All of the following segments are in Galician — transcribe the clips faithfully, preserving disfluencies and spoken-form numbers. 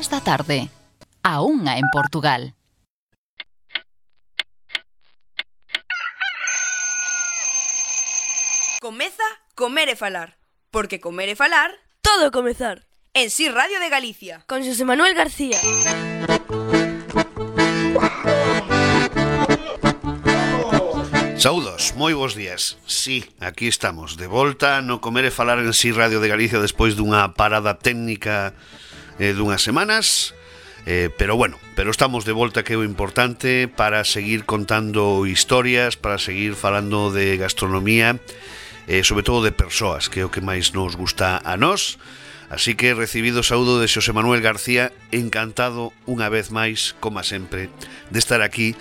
dúas da tarde. A unha en Portugal. Comeza Comer e Falar, porque comer e falar todo comezar. En Si Radio de Galicia. Con Xosé Manuel García. Saúdos, moi bons días. Sí, aquí estamos, de volta no Comer e Falar en Si Radio de Galicia despois dunha parada técnica eh, dunhas semanas. Eh, pero bueno, pero estamos de volta, que é o importante, para seguir contando historias, para seguir falando de gastronomía, eh, sobre todo de persoas, que é o que máis nos gusta a nós. Así que recibido o saúdo de Xosé Manuel García, encantado unha vez máis, como sempre, de estar aquí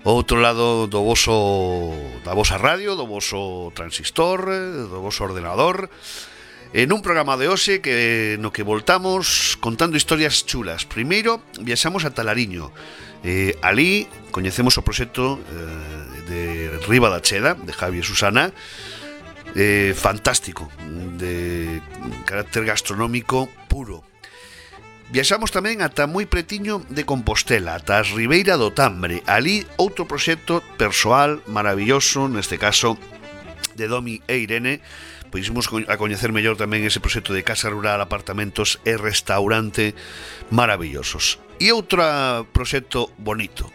ao outro lado do voso, da vosa radio, do voso transistor, do voso ordenador, en un programa de hoxe que no que voltamos contando historias chulas. Primeiro, viaxamos a Talariño. Eh, ali coñecemos o proxecto eh, de Riba da Cheda, de Javi e Susana, eh, fantástico, de carácter gastronómico puro. Viaxamos tamén ata moi pretiño de Compostela, ata as Ribeira do Tambre. Ali outro proxecto persoal maravilloso, neste caso de Domi e Irene. Pois imos a coñecer mellor tamén ese proxecto de casa rural, apartamentos e restaurante maravillosos. E outro proxecto bonito,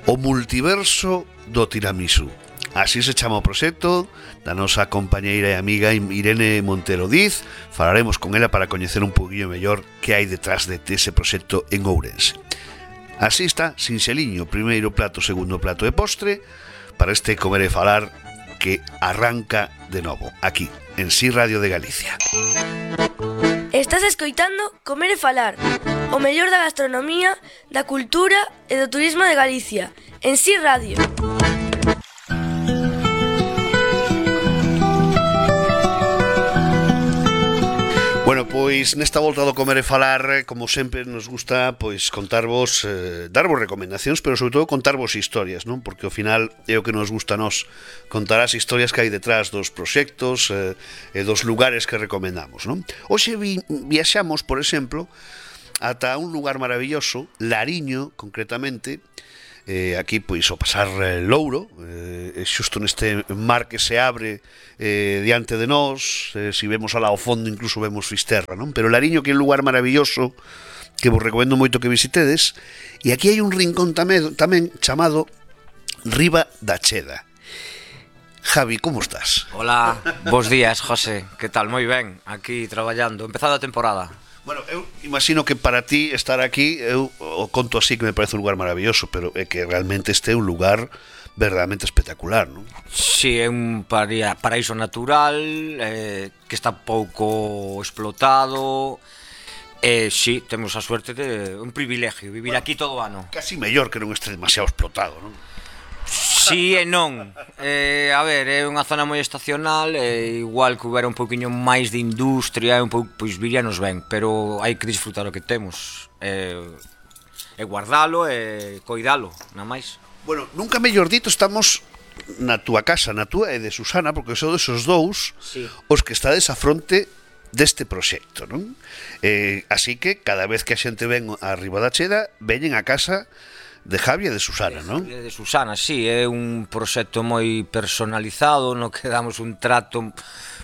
o multiverso do tiramisú. Así se chama o proxecto da nosa compañeira e amiga Irene Montero Diz. Falaremos con ela para coñecer un poquinho mellor que hai detrás de ese proxecto en Ourense. Así está, sinxeliño, primeiro plato, segundo plato e postre para este Comer e Falar que arranca de novo, aquí, en Si Radio de Galicia. Estás escoitando Comer e Falar, o mellor da gastronomía, da cultura e do turismo de Galicia, en Si Radio. Bueno, pois nesta volta do Comer e Falar, como sempre nos gusta, pois contarvos, eh, darvos recomendacións, pero sobre todo contarvos historias, non? Porque ao final é o que nos gusta a nós, contar as historias que hai detrás dos proxectos eh, e dos lugares que recomendamos, non? Hoxe vi, viaxamos, por exemplo, ata un lugar maravilloso, Lariño, concretamente, eh, aquí pois o pasar eh, Louro, eh, xusto neste mar que se abre eh, diante de nós, eh, si vemos alá ao fondo incluso vemos Fisterra, non? Pero Lariño, que é un lugar maravilloso que vos recomendo moito que visitedes, e aquí hai un rincón tamén, tamén chamado Riba da Cheda. Javi, como estás? Hola, bos días, José, que tal? Moi ben, aquí traballando, empezada a temporada. Bueno, eu imagino que para ti estar aquí, eu o conto así que me parece un lugar maravilloso, pero é que realmente este é un lugar verdadeiramente espectacular, non? Si, é un paraíso natural, eh, que está pouco explotado, e si, temos a suerte de un privilegio, vivir bueno, aquí todo o ano. Casi mellor que non este demasiado explotado, non? Si e non, eh, a ver, é unha zona moi estacional, e igual que houbera un poquinho máis de industria, un pouco, pois viríanos ben, pero hai que disfrutar o que temos, e, e guardalo e coidalo, nada máis. Bueno, nunca mellor dito, estamos na túa casa, na túa e de Susana, porque son esos dous sí. Os que estades a fronte deste proxecto, non? Eh, así que cada vez que a xente ven a Riba da Cheda, veñen a casa de Javi e de Susana, non? De, de Susana, sí, é un proxecto moi personalizado, no que damos un trato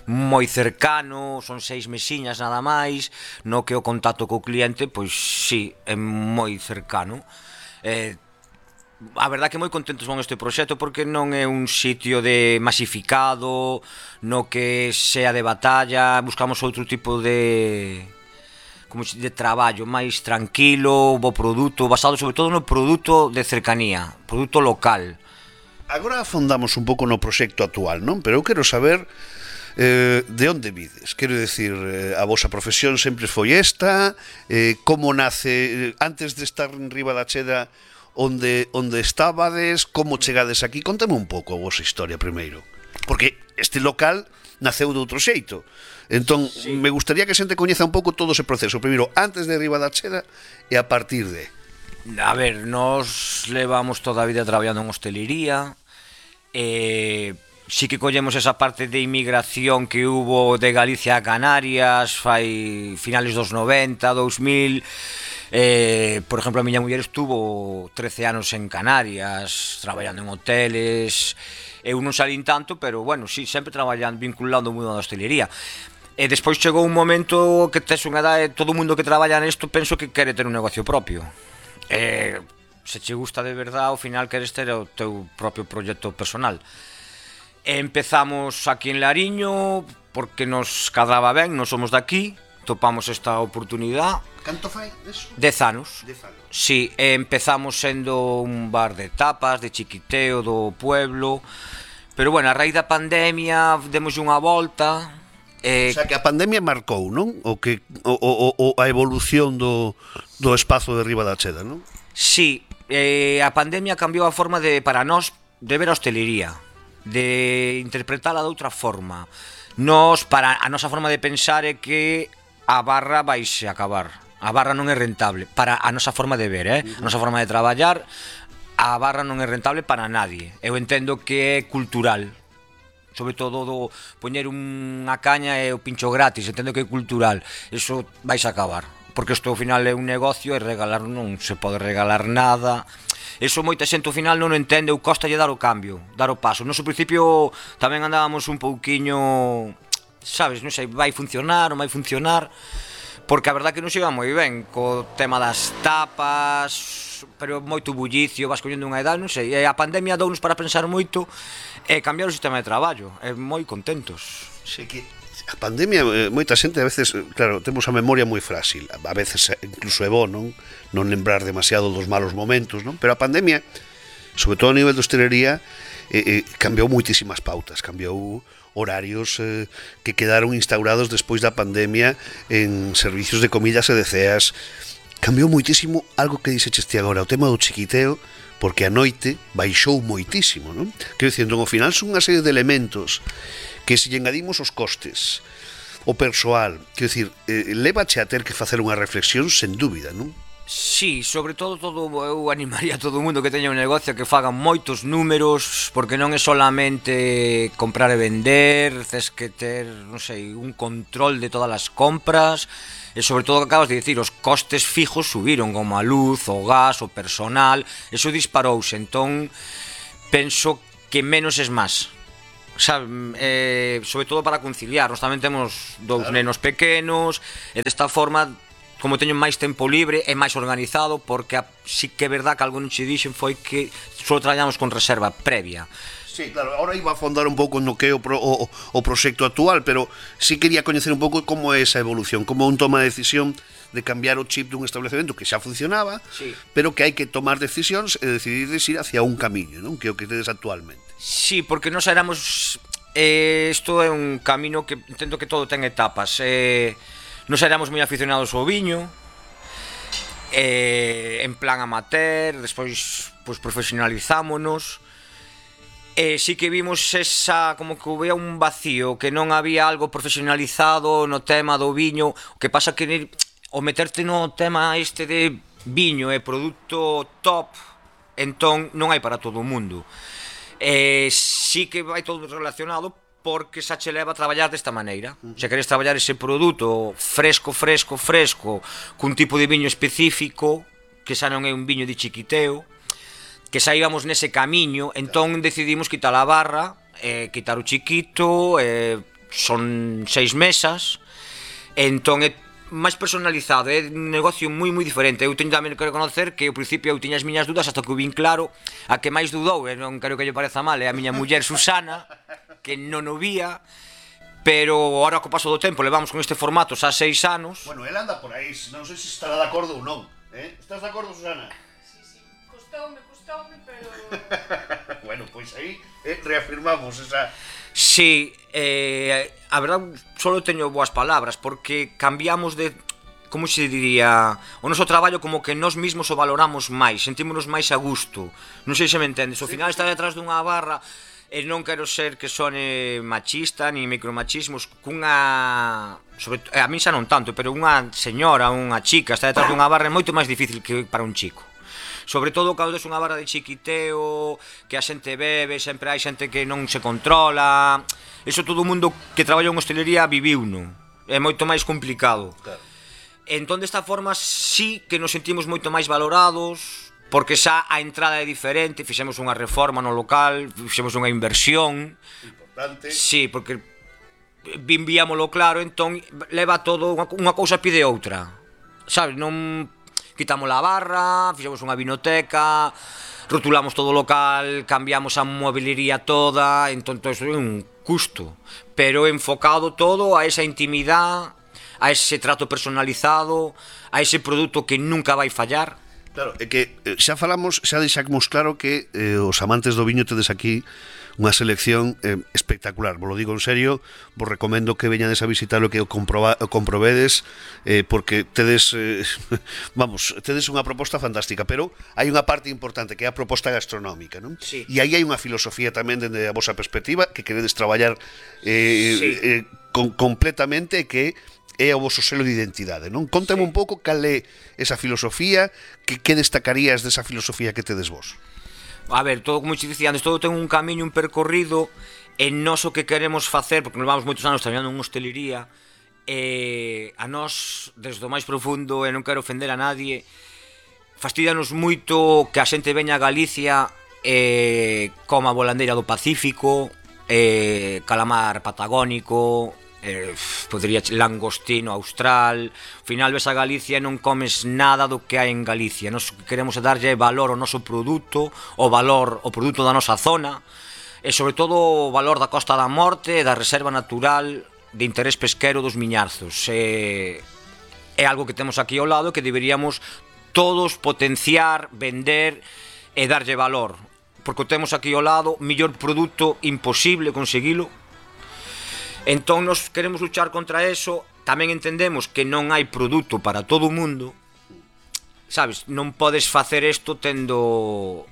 moi cercano, son seis mesiñas nada máis, no que o contacto co cliente, pois sí, é moi cercano. Eh, a verdad que moi contentos con este proxecto porque non é un sitio de masificado, no que sea de batalla, buscamos outro tipo de... como de traballo máis tranquilo, bo produto, basado sobre todo no produto de cercanía, produto local. Agora afondamos un pouco no proxecto actual, non? Pero eu quero saber eh, de onde vides. Quero decir, eh, a vosa profesión sempre foi esta, eh, como nace, eh, antes de estar en Riba da Cheda, onde, onde estabades, como chegades aquí? Contame un pouco a vosa historia primeiro, porque este local naceu de outro xeito. Entón, sí. Me gustaría que a xente coñeza un pouco todo ese proceso, primeiro antes de Riba da Cheda e a partir de... A ver, nos levamos toda a vida traballando en hostelería, e sí que collemos esa parte de inmigración que hubo de Galicia a Canarias fai finales dos noventa, dous mil, Eh, por exemplo, a miña muller estuvo trece anos en Canarias, traballando en hoteles. Eu non salín tanto, pero, bueno, sí, sempre traballando, vinculando o mundo da hostelería. E despois chegou un momento que tes unha edade, todo o mundo que traballa nesto penso que quere ter un negocio propio. E se che gusta de verdade, ao final queres ter o teu propio proxecto personal. E empezamos aquí en Lariño porque nos cadraba ben, non somos daqui, topamos esta oportunidade. Canto fai eso? Dez anos. Dez anos. Sí, empezamos sendo un bar de tapas, de chiquiteo do pueblo. Pero, bueno, a raíz da pandemia demos unha volta. Eh, o sea, que a pandemia marcou, non? O que o, o, o a evolución do, do espazo de Riba da Cheda, non? Sí, eh, a pandemia cambiou a forma de para nós de ver a hostelería, de interpretala de outra forma. Nós, para a nosa forma de pensar é que a barra vaise acabar. A barra non é rentable para a nosa forma de ver, eh? A nosa forma de traballar, a barra non é rentable para nadie. Eu entendo que é cultural. Sobre todo do poñer unha caña e o pincho gratis, entendo que é cultural. Eso vais a acabar, porque isto ao final é un negocio e regalar non se pode regalar nada. Eso moita xente ao final non o entende, ou costa lle dar o cambio, dar o paso. Nos ao principio tamén andábamos un pouquiño, sabes, non sei, vai funcionar, non vai funcionar, porque a verdade que non se iba moi ben co tema das tapas, pero moito bullicio, vas collendo unha edad, non sei, e a pandemia dounos para pensar moito e cambiar o sistema de traballo, e moi contentos. Sí, que a pandemia, moita xente a veces, claro, temos a memoria moi frágil, a veces incluso é bo, non? Non lembrar demasiado dos malos momentos, non? Pero a pandemia, sobre todo a nivel de hostelería, eh, eh, cambiou moitísimas pautas, cambiou horarios eh, que quedaron instaurados despois da pandemia en servicios de comidas e de ceas. Cambiou moitísimo algo que dixeches ti agora, o tema do chiquiteo, porque a noite baixou moitísimo, non? Quero dicir, entón, ao final son unha serie de elementos que se lle engadimos os costes, o persoal, quero dicir, eh, levache a ter que facer unha reflexión sen dúbida, non? Sí, sobre todo, todo eu animaría a todo o mundo que teña un negocio que fagan moitos números, porque non é solamente comprar e vender, tes que ter, non sei, un control de todas as compras, e sobre todo, que acabas de dicir, os costes fijos subiron, como a luz, o gas, o personal, eso disparouse, entón penso que menos es máis. Sabe, eh, sobre todo para conciliar, nós tamén temos dous claro. nenos pequenos, e desta forma, como teño máis tempo libre, é máis organizado, porque a, sí que é verdad que algo non che dixen foi que só traballamos con reserva previa. Sí, claro, ahora iba a fondar un pouco no que é o, pro, o, o proxecto actual, pero sí quería coñecer un pouco como é esa evolución, como un toma de decisión de cambiar o chip dun establecemento que xa funcionaba, sí. pero que hai que tomar decisións e decidir ir hacia un camiño, non? Que é o que tedes actualmente. Sí, porque nós éramos... Eh, isto é un camino que entendo que todo ten etapas. Eh, Nos éramos moi aficionados ao viño, eh, en plan amateur, despois pues, profesionalizámonos, e sí que vimos esa, como que había un vacío, que non había algo profesionalizado no tema do viño, o que pasa que o meterte no tema este de viño e produto top, entón non hai para todo o mundo. Eh, sí que vai todo relacionado, porque xa che leva a traballar desta maneira. Se queres traballar ese produto fresco, fresco, fresco, cun tipo de viño específico, que xa non é un viño de chiquiteo, que xa íbamos nese camiño, entón decidimos quitar a barra, eh, quitar o chiquito, eh, son seis mesas, entón é máis personalizado, é un negocio moi moi diferente. Eu teño tamén que reconocer que ao principio eu tiña as miñas dudas hasta que o vin claro. A que máis dudou, e non quero que lle pareza mal, é a miña muller Susana, que non o vía, pero agora co paso do tempo levamos con este formato xa seis anos. Bueno, ela anda por aí, non sei se estará de acordo ou non, eh? Estás de acordo, Susana? Sí, sí, costoume, costoume, pero... Bueno, pois aí eh, reafirmamos esa... Sí, eh, a verdade, solo teño boas palabras, porque cambiamos de... Como se diría? O noso traballo como que nós mesmos o valoramos máis, sentímonos máis a gusto. Non sei se me entendes, ao final está detrás dunha barra... E non quero ser que sone machista ni micromachismos, cunha, sobre, a min xa non tanto, pero unha señora, unha chica está detrás dunha barra é moito máis difícil que para un chico. Sobre todo cando tes unha barra de chiquiteo, que a xente bebe, sempre hai xente que non se controla. Eso todo o mundo que traballa en hostelería viviu, non? É moito máis complicado. Claro. Entón, desta forma, sí que nos sentimos moito máis valorados, porque xa a entrada é diferente, fixemos unha reforma no local, fixemos unha inversión. Importante. Sí, porque enviámoslo claro, entón leva todo, unha, unha cousa pide outra. Sabes, non quitamos a barra, fixemos unha vinoteca, rotulamos todo o local, cambiamos a mobiliaría toda, entón todo iso é un custo, pero enfocado todo a esa intimidade, a ese trato personalizado, a ese produto que nunca vai fallar. Claro, é que eh, xa falamos, xa deixamos claro que eh, os amantes do viño tedes aquí unha selección eh, espectacular, vos lo digo en serio, vos recomendo que veñades a visitar o que o, comproba, o comprovedes, eh, porque tedes, eh, vamos, tedes unha proposta fantástica, pero hai unha parte importante que é a proposta gastronómica, non? Sí. E aí hai unha filosofía tamén dende a vosa perspectiva que queredes traballar eh, Sí. eh, con, completamente, que é o voso selo de identidade, non? Contame Sí. un pouco cal é esa filosofía, que, que destacarías desa filosofía que tedes vos? A ver, todo, como te dicía antes, todo ten un camiño, un percorrido, en nós o que queremos facer, porque nos vamos moitos anos traballando en hostelería, eh, a nós, desde o máis profundo, e non quero ofender a nadie, fastidianos moito que a xente veña a Galicia eh, coma volandeira do Pacífico, eh, calamar patagónico, eh, podría langostino austral. Ao final ves a Galicia e non comes nada do que hai en Galicia. Nos queremos darlle valor ao noso produto, o valor o produto da nosa zona, e sobre todo o valor da Costa da Morte e da reserva natural de interés pesquero dos Miñarzos. É, é algo que temos aquí ao lado que deberíamos todos potenciar, vender e darlle valor, porque o temos aquí ao lado, millor produto imposible conseguilo. Entón nos queremos luchar contra eso. Tamén entendemos que non hai produto para todo o mundo. Sabes, non podes facer isto tendo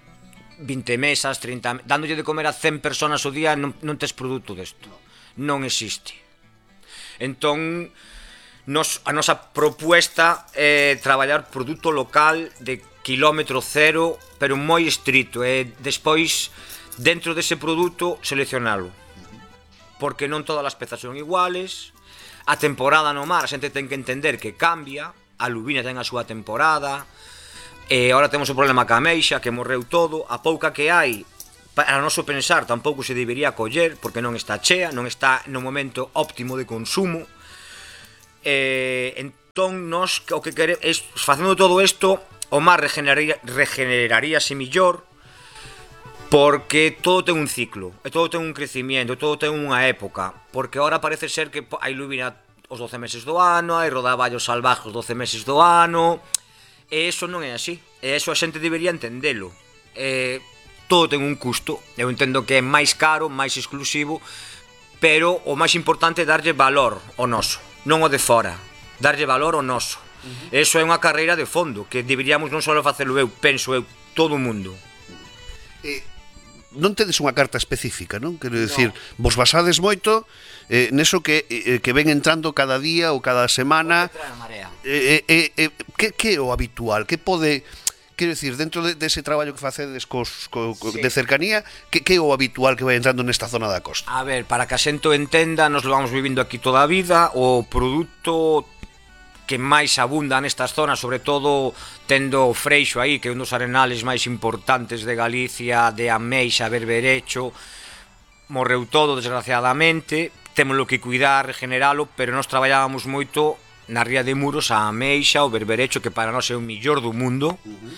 vinte mesas, trinta, dándolle de comer a cen personas ao día, non, non tes produto desto. Non existe. Entón, nos, a nosa propuesta é traballar produto local de kilómetro cero, pero moi estrito, e despois, dentro dese produto, seleccionalo. Porque non todas as pezas son iguales. A temporada no mar, a xente ten que entender que cambia. A lubina ten a súa temporada. E agora temos o problema ca ameixa, que morreu todo. A pouca que hai, para noso pensar, tampouco se debería coller, porque non está chea, non está no momento óptimo de consumo. E entón, nos, o que queremos, facendo todo isto, o mar regeneraría, regeneraríase millor, porque todo ten un ciclo, e todo ten un crecimiento, todo ten unha época, porque agora parece ser que hai lubina os doce meses do ano, hai rodaballos salvajes os doce meses do ano, e iso non é así, e iso a xente debería entendelo. E todo ten un custo, eu entendo que é máis caro, máis exclusivo, pero o máis importante é darlle valor ao noso, non o de fora, darlle valor ao noso. Uh-huh. Eso é unha carreira de fondo, que deberíamos non só facelo eu, penso eu, todo o mundo. Eh, non tedes unha carta específica, non? Quero dicir, no. Vos basades moito eh, neso que, eh, que ven entrando cada día ou cada semana. Eh, eh, eh, que, que é o habitual? Que pode... Quero dicir, dentro de, dese traballo que facedes cos, co, co, sí. de cercanía, que, que é o habitual que vai entrando nesta zona da costa? A ver, para que a xente o entenda, nos lo vamos vivindo aquí toda a vida, o produto que máis abunda nestas zonas, sobre todo tendo o Freixo aí, que é un dos arenales máis importantes de Galicia, de ameixa, berberecho, morreu todo, desgraciadamente, témoslo que cuidar, regeneralo, pero nós traballábamos moito na ría de Muros a ameixa, o berberecho, que para nós é o millor do mundo. Uh-huh.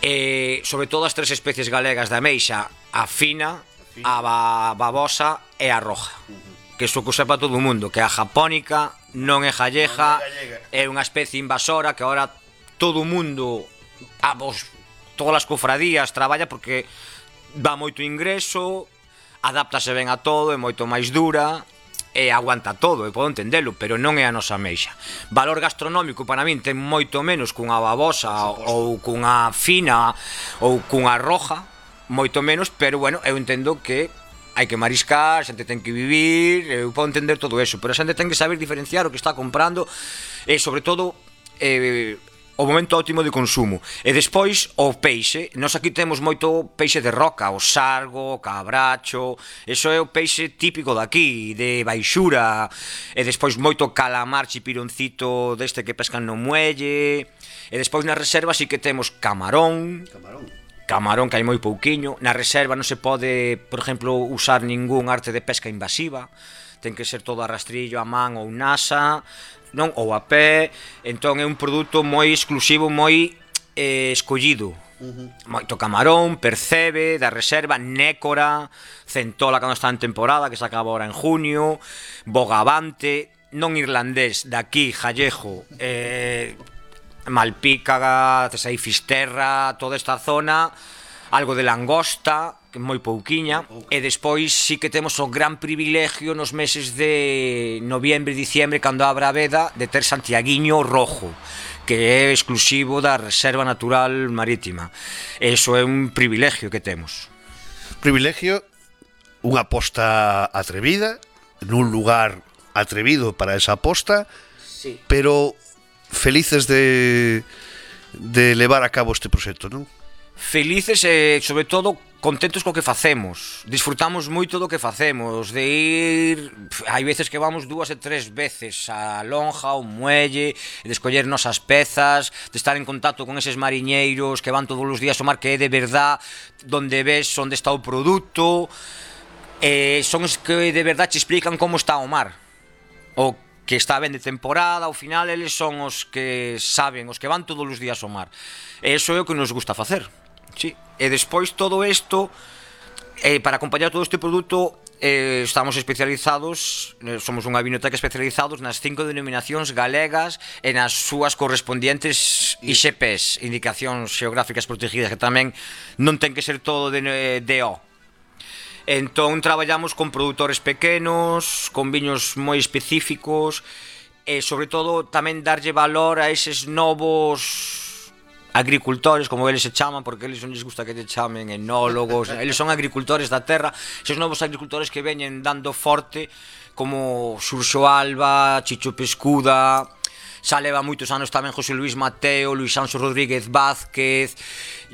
E sobre todo as tres especies galegas de ameixa, a fina, a babosa e a roja. Uh-huh. Que iso que sepa todo o mundo, que a japónica non é gallega, é unha especie invasora que agora todo o mundo, a vos, todas as cofradías traballa porque dá moito ingreso, adáptase ben a todo, é moito máis dura e aguanta todo, e podo entendelo, pero non é a nosa ameixa. Valor gastronómico para min ten moito menos cunha babosa ou cunha fina ou cunha roja, moito menos, pero bueno, eu entendo que hai que mariscar, a xente ten que vivir, eu podo entender todo eso, pero a xente ten que saber diferenciar o que está comprando e, sobre todo, eh, o momento óptimo de consumo. E despois o peixe, nós aquí temos moito peixe de roca, o sargo, o cabracho, eso é o peixe típico daqui, de baixura, e despois moito calamar chipironcito deste que pescan no muelle, e despois na reserva sí que temos camarón, Camarón. camarón que hai moi pouquiño, na reserva non se pode, por exemplo, usar ningún arte de pesca invasiva, ten que ser todo a rastrillo, a man ou nasa, non, ou a pé, entón é un produto moi exclusivo, moi eh, escollido. Uh-huh. Moito camarón, percebe, da reserva, nécora, centola cando está en temporada, que se acaba ahora en junio, bogavante, non irlandés, daqui, jallejo, eh, malpica, aí fisterra, toda esta zona, algo de langosta, que moi pouquiña, e despois sí que temos o gran privilegio nos meses de noviembre e diciembre, cando abra a veda, de ter santiaguiño rojo, que é exclusivo da Reserva Natural Marítima. Eso é un privilegio que temos. Privilegio, unha aposta atrevida, nun lugar atrevido para esa aposta, Sí. pero felices de, de levar a cabo este proxecto, non? Felices e, sobre todo, contentos co que facemos. Disfrutamos moito do que facemos, de ir... Hai veces que vamos dúas e tres veces a lonja, ao muelle, de escoller nosas pezas, de estar en contacto con eses mariñeiros que van todos os días ao mar, que é de verdad, donde ves onde está o produto, eh, son os que de verdad te explican como está o mar, o que está ben de temporada. Ao final eles son os que saben, os que van todos os días ao mar. E iso é o que nos gusta facer. Sí. E despois todo isto, eh, para acompañar todo este produto, eh, estamos especializados, eh, somos unha vinoteca especializados nas cinco denominacións galegas e nas súas correspondientes I X Ps, indicacións xeográficas protegidas, que tamén non ten que ser todo de, de O. Entón traballamos con produtores pequenos, con viños moi específicos, e sobre todo tamén darlle valor a eses novos agricultores, como eles se chaman, porque eles non les gusta que te chamen enólogos, eles son agricultores da terra, esos novos agricultores que veñen dando forte, como Xurxo Alba, Chicho Pescuda, xa leva moitos anos tamén José Luis Mateo, Luis Anxo Rodríguez Vázquez,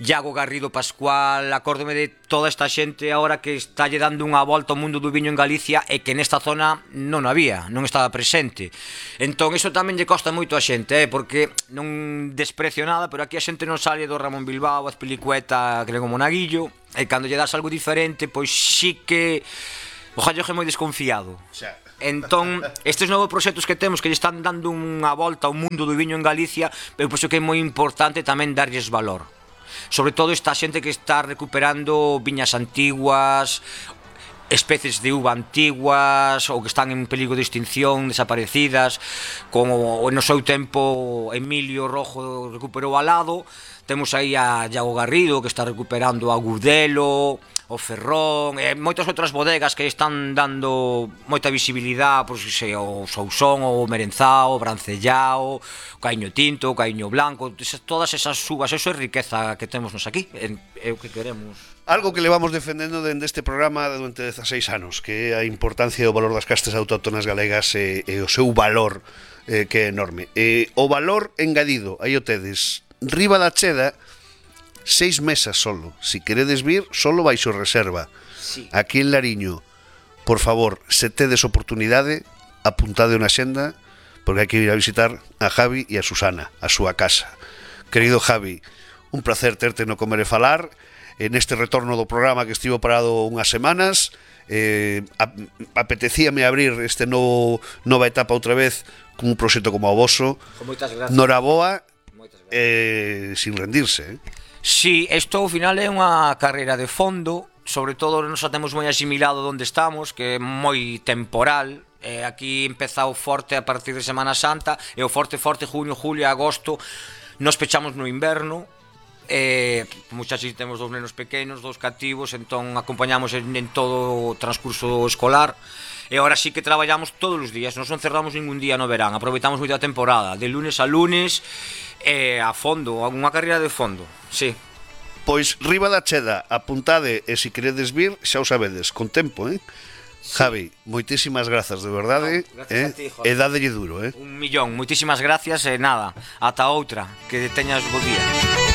Iago Garrido Pascual. Acórdome de toda esta xente agora que está lle dando unha volta ao mundo do viño en Galicia e que nesta zona non había, non estaba presente. Entón iso tamén lle costa moito a xente, eh? Porque non desprecio nada, pero aquí a xente non sale do Ramón Bilbao, Azpilicueta, Grego Monaguillo, e cando lle das algo diferente, pois sí que o jalloje é moi desconfiado. Xa. Entón, estes novos proxectos que temos que lle están dando unha volta ao mundo do viño en Galicia, eu penso que é moi importante tamén darlles valor. Sobre todo esta xente que está recuperando viñas antiguas, especies de uva antiguas ou que están en perigo de extinción, desaparecidas, como no seu tempo Emilio Rojo recuperou Alado. Temos aí a Iago Garrido que está recuperando a Gudelo, o Ferrón, e moitas outras bodegas que están dando moita visibilidade, pois se o Sousón, o Merenzao, o Brancellao, o Caíño Tinto, o Caíño Blanco, todas esas uvas, eso é riqueza que temos nos aquí, é o que queremos. Algo que levamos defendendo dende este programa durante dezaseis anos, que é a importancia e o valor das castas autóctonas galegas e, e o seu valor, eh, que é enorme. E o valor engadido, aí o tedes, riba da cheda, seis mesas solo. Si queredes vir, solo baixo reserva. Sí. Aquí en Lariño, por favor, se tedes oportunidade, apuntade unha xenda, porque hai que ir a visitar a Javi e a Susana, a súa casa. Querido Javi, un placer terte no Comer e Falar, en este retorno do programa que estivo parado unhas semanas. eh, apetecíame abrir este novo nova etapa outra vez con un proxecto como o voso. Moitas gracias. Noraboa, Moitas gracias. eh, sin rendirse, eh? Si, isto ao final é unha carreira de fondo, sobre todo nos temos moi asimilado onde estamos, que é moi temporal. Eh, aquí empeza o forte a partir de Semana Santa, e o forte forte junio, julio, agosto, nos pechamos no inverno. Eh, muchachos, temos dous nenos pequenos, dous cativos, entón acompañamos en, en todo o transcurso escolar. E agora sí que traballamos todos os días, non cerramos ningún día no verán, aproveitamos moito a temporada, de lunes a lunes, e a fondo, unha carreira de fondo, sí. Pois riba da cheda, apuntade, e se queredes vir, xa o sabedes, con tempo, eh? Javi, moitísimas grazas, de verdade. No, gracias eh? a ti, Jorge. E dádelle duro, eh? Un millón, moitísimas gracias e nada, ata outra, que teñas bo día.